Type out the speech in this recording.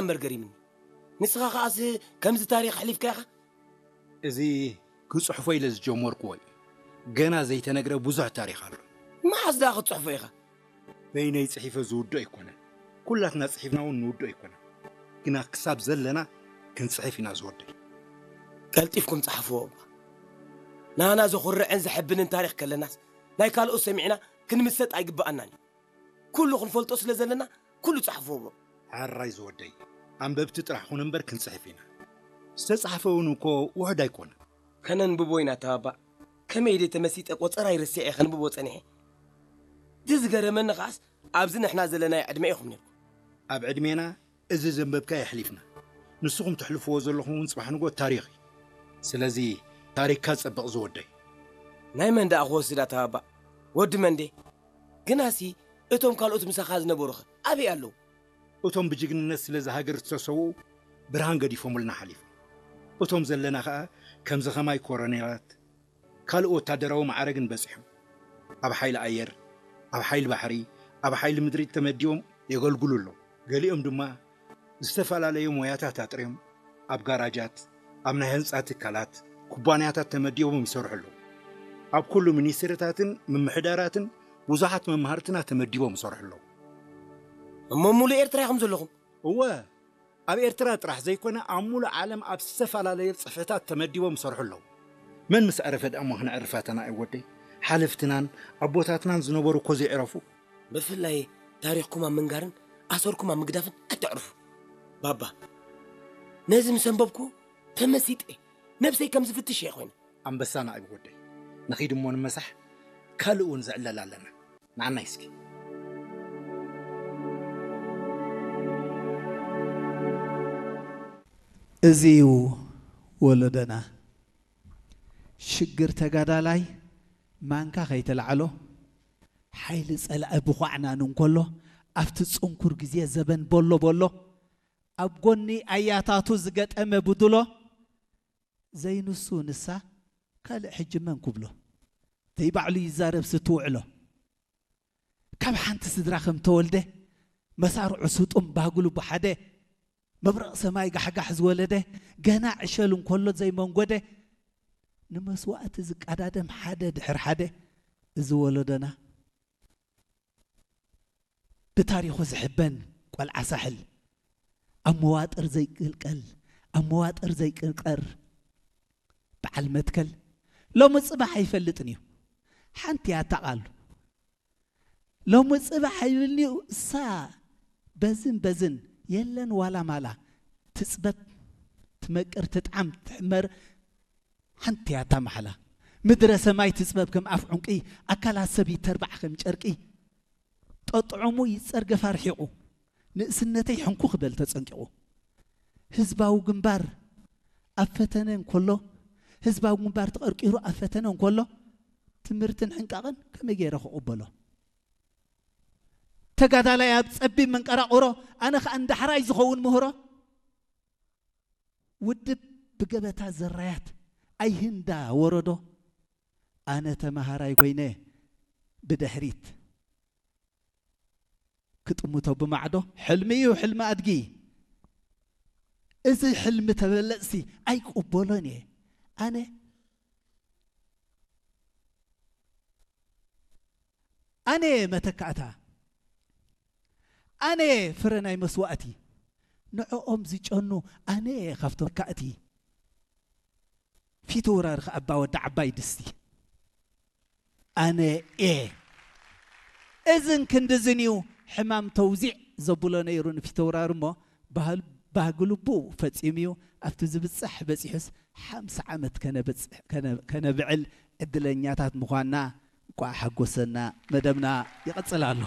እምበር ገሪምኒ። ንስኻ ከኣስ ከምዚ ታሪኽ ኣሕሊፍካ ኢኻ? እዚ ክጽሕፎ ኢለ ዝጀመርኩዎ እዩ። ገና ዘይተነግረ ብዙሕ ታሪኽ ኣሎ። መዓስ ደኣ ክትጽሕፎ ኢኻ? በይነይ ጽሒፈ ዝውዶ ኣይኮነን። ኩላትና ጽሒፍና እውን ንውዶ ኣይኮነን። ግና ክሳብ ዘለና ክንጽሕፍ ኢና ዝወደይ። ቀልጢፍኩም ጸሓፍዎ እባ። ናና ዘኹርዕን ዘሐብንን ታሪኽ ከለናስ ናይ ካልኦት ሰሚዕና ክንምሰጥ ኣይግብኣናን እዩ። ኩሉ ክንፈልጦ ስለ ዘለና ኩሉ ጸሓፍዎ እባ። ሕራይ ዝወደይ። ኣንበብቲ ጥራሕ ኩን እምበር ክንጽሕፍ ኢና። ዝተጻሕፈ እውን እኮ ውሑድ ኣይኮነን። ከነንብቦ ኢና ተባባዕ። ከመይ ኢለ ተመሲጠ ቆጸራ ይረስዐ ከንብቦ ጸኒሐ። እቲ ዝገረመኒ ከኣስ ኣብዚ ንሕና ዘለናዮ ዕድመ ኢኹም ነርኩም። ኣብ ዕድሜና እዚ ዘንበብካ የሕሊፍና። ንስኹም ተሕልፍዎ ዘለኹም እውን ጽባሕ ንጎ ታሪኽ እዩ። ስለዚ ታሪኽካ ጸብቕ ዝወደይ። ናይ መን ደኣ ክወስዳ ተባባዕ? ወዲ መንዴ? ግናሲ እቶም ካልኦት ምሳኻ ዝነበሩኸ ኣበይ ኣለዉ? እቶም ብጅግንነት ስለ ዝሃገር ዝተሰውኡ ብርሃን ገዲፎምልና ሓሊፎም። እቶም ዘለና ኸኣ ከምዚ ኸማይ ኮረኔላት ካልእ ወታደራዊ ማዕረግን በጺሖም ኣብ ሓይሊ ኣየር፣ ኣብ ሓይሊ ባሕሪ፣ ኣብ ሓይሊ ምድሪ ተመዲቦም የገልግሉ ኣለዉ። ገሊኦም ድማ ዝተፈላለዩ ሞያታት ኣጥርዮም ኣብ ጋራጃት፣ ኣብ ናይ ህንጻ ትካላት፣ ኩባንያታት ተመዲቦም ይሰርሑ ኣለዉ። ኣብ ኩሉ ሚኒስትሪታትን ምምሕዳራትን ብዙሓት መማህርትና ተመዲቦም ይሰርሑ ኣለዉ። እሞ ሙሉእ ኤርትራ ኢኹም ዘለኹም? እወ፣ ኣብ ኤርትራ ጥራሕ ዘይኮነ ኣብ ሙሉእ ዓለም ኣብ ዝተፈላለዩ ጽፍሕታት ተመዲቦም ይሰርሑ ኣለዉ። መን ምስ ዕረፈ ደኣ እሞ ክነዕርፍ ኣተና እዩ ወደይ? ሓለፍትናን ኣቦታትናን ዝነበሩ እኮ ዘይዕረፉ። ብፍላይ ታሪኽኩም ኣብ ምንጋርን ኣሰርኩም ኣብ ምግዳፍን ኣይተዕርፉ። ባባ፣ ነዚ ምስ ኣንበብኩ ተመሲጠ። ነብሰይ ከም ዝፍትሽ እየ ኮይነ። ኣንበሳና እዩ ወደይ። ንኺድ እሞ ንመሳሕ፣ ካልእ እውን ዝዕለል ኣለና። ንዓናይ እስኪ። እዚ እዩ ወለዶና። ሽግር ተጋዳላይ ማንካ ከይተላዕሎ፣ ሓይሊ ጸላኢ ብዃዕናን እንከሎ፣ ኣብቲ ጽንኩር ግዜ ዘበን ቦሎ ቦሎ፣ ኣብ ጎኒ ኣያታቱ ዝገጠመ ብድሎ፣ ዘይንሱ ንሳ ካልእ ሕጂ መን ክብሎ? ዘይባዕሉ ይዛረብ ስትውዕሎ። ካብ ሓንቲ ስድራ ከም ተወልደ፣ መሳርዑ ስጡም ባህጉ ልቡ ሓደ፣ መብረቕ ሰማይ ጋሕጋሕ ዝወለደ፣ ገና ዕሸል እንከሎ ዘይመንጎደ፣ ንመስዋእቲ ዝቀዳደም ሓደ ድሕር ሓደ፣ እዚ ወለዶና ብታሪኹ ዝሕበን ቆልዓ ሳሕል፣ ኣብ መዋጥር ዘይቅልቀል፣ ኣብ መዋጥር ዘይቅርቀር በዓል መትከል፣ ሎሚ ጽባሕ ኣይፈልጥን እዩ። ሓንቲ እያ እታ ቃሉ። ሎሚ ጽባሕ ኣይብልን'ዩ እሳ በዝን በዝን የለን ዋላ ማላ ትጽበብ ትመቅር ትጥዓም ትሕመር ሓንቲ እያ እታ ማሕላ። ምድረ ሰማይ ትጽበብ ከም ኣፍ ዑንቂ ኣካላት ሰብ ይተርባዕ ከም ጨርቂ ጠጥዑሙ ይጸርገፍ ኣርሒቑ ንእስነተይ ሕንኩ ክበል ተጸንቂቑ ህዝባዊ ግንባር ኣብ ፈተነ እንከሎ ህዝባዊ ግንባር ተቐርቂሩ ኣብ ፈተነ እንከሎ ትምህርትን ሕንቃቕን ከመይ ገይረ ክቕበሎ? ተጋዳላይ ኣብ ጸቢብ መንቀራቕሮ ኣነ ኸኣ ንዳሕራይ ዝኸውን ምህሮ ውድብ ብገበታ ዘራያት ኣይህንዳ ወረዶ ኣነ ተመሃራይ ኮይነ ብድሕሪት ክጥምቶ ብማዕዶ ሕልሚ እዩ ሕልሚ ኣድጊ እዚ ሕልሚ ተበለጽቲ ኣይቅበሎን እየ ኣነ ኣነ መተካእታ ኣነ ፍረ ናይ መስዋእቲ ንዕኦም ዝጨኑ ኣነ ካብቶም መካእቲ ፊተውራሪ ከኣ ኣባ ወዲ ዓባይ ድስቲ ኣነ እየ እዝን ክንድዝን እዩ ሕማም ተውዚዕ ዘብሎ ነይሩ ንፊተውራሪ እሞ ባህል ባህጊ ልቡ ፈጺሙ እዩ ኣብቲ ዝብጻሕ በጺሑስ ሓምሳ ዓመት ከነብዕል ዕድለኛታት ምዃንና እንቋዕ ሓጎሰና መደብና ይቕጽል ኣሎ።